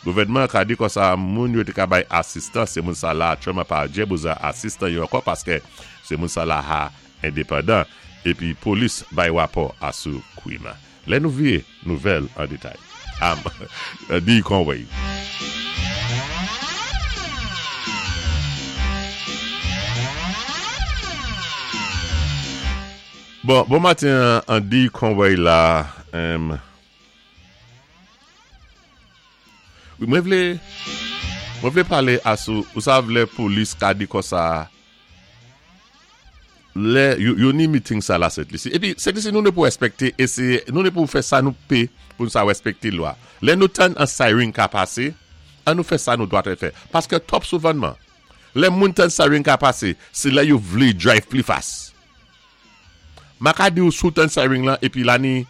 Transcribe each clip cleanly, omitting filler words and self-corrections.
Gouvèdman an ka di konsa moun yo té ka bay asistans sé moun sa la aktyèlman pa djè bézwen asistan yo ankò paskè sé moun sa la ha endepandan épi polis bay wapò asou kwim. Lè nou vye nouvèl an detay. Am Dee Conway. Bon, bon maten an Dee Conway la. Wi, mwen vle, mwen vle pale asou, ou sav lè polis ka di konsa. Lè yo ni meeting sa la Sent Lisi. Epi Sent Lisi nou ne pou respekte eseye nou ne pou fè sa nou pe pou nou sa respekte lwa. Lè nou tann an siren ka pase, an nou fè sa nou dwat fè. Paske twòp souvànman, lè moun tann siren ka pase, se lè yo vle drive pli fas. Ma ka di ou si w tann siren lan epi la ni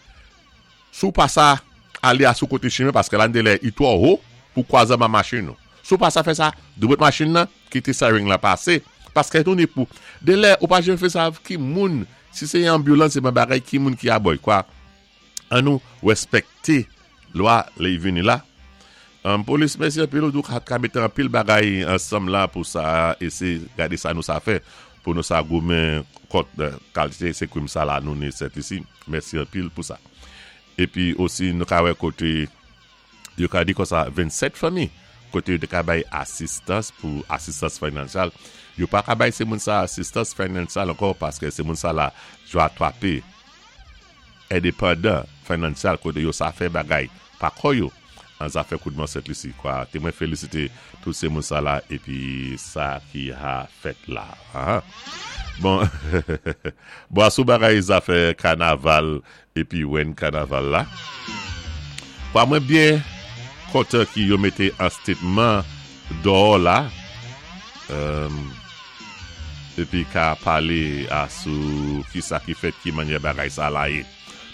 Si w pa sa ale a sou kote chimen paske la delè i twò ho pou kwaze anba machin ou. Si w pa sa fè sa, doubout machin nan, kite siren lan pase paske nou ni pou delè ou pa janm fè sa ki moun si se yon ambulance se pa bagay ki moun ki abòy kwa an nou respekte lwa lè i vini la. Polis mèsi anpil ou ka ka mete anpil bagay ansanm la pou sa ese gade sa nou sa fè pou nou sa goumen kont kalte se krim sa la nou ni sètisi mèsi anpil pou sa. Epi osi nou ka wè kote yo ka di konsa 27 fanmi kote yo te ka bay asistans pou asistans finansyal. Yo pa ka bay se moun sa asistans finansyal ankò paske se moun sa la jwa twape endepandan finansyal kote yo sa fè bagay pa kò yo an zafè koudman Sent Lisi kwa te mwen felisite tout se moun sa la epi sa ki ha fèt la aa bon bon asou bagay zafè kanaval epi wèn kanaval la kwa mwen byen kontan ki yo mete an stetman dòò la epi ka pale asou kisa ki fèt ki manyè bagay sa la ye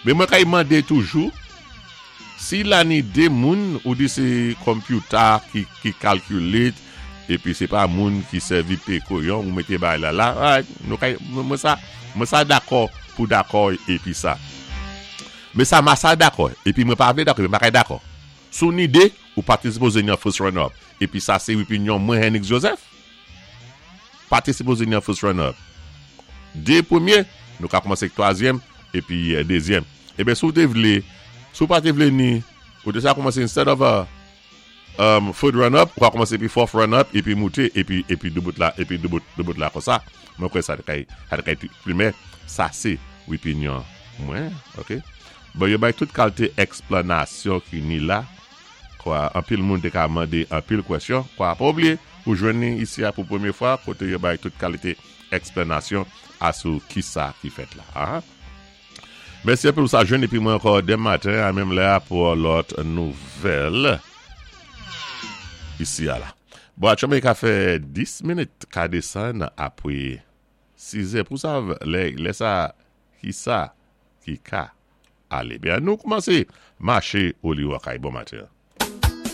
men mwen kay mande toujou. Si la ni 2 moun ou di se computer ki calculate epi se pa moun ki sèvi pe koyon ou mete bagay la la alright nou ka mwen sa mwen sa dakò pou dakò epi sa men sa ma sa dakò epi mwen pa vle dakò epi m pa ka dakò si w ni 2 ou pa te sipoze ni an first runner up epi sa se opinyon mwen Henix Joseph pa te sipoze ni an first runner up 2 premye nou ka kòmanse ak twazyèm epi dezyèm. Eben si w te vle, si w pa te vle ni, ou te sa kòmanse instead of a um third run up, ou ka kòmanse epi fourth run up epi moute epi epi doubout la epi doubout doubout la konsa. Mwen kwè sa te kay sa te kay pi pli men sa se wipinyon mwen ok. Bon yo bay tout kalte eksplanasyon ki ni la kwa anpil moun te ka mande anpil kwèsyon kwa pa oubliye ou jwenn ni isi a pou premye fwa kote yo bay tout kalite eksplanasyon asou kisa ki fèt la aha. Mèsi anpil ou sa jwenn epi mwen ankò demen maten a menm lè a pou yon lòt nouvèl isi a la. Bon atchòmè ka fè 10 minit ka desann apre 6 è pou sa lè lè sa ki sa ki ka ale. Byen nou koumanse mache oli wakay bon maten.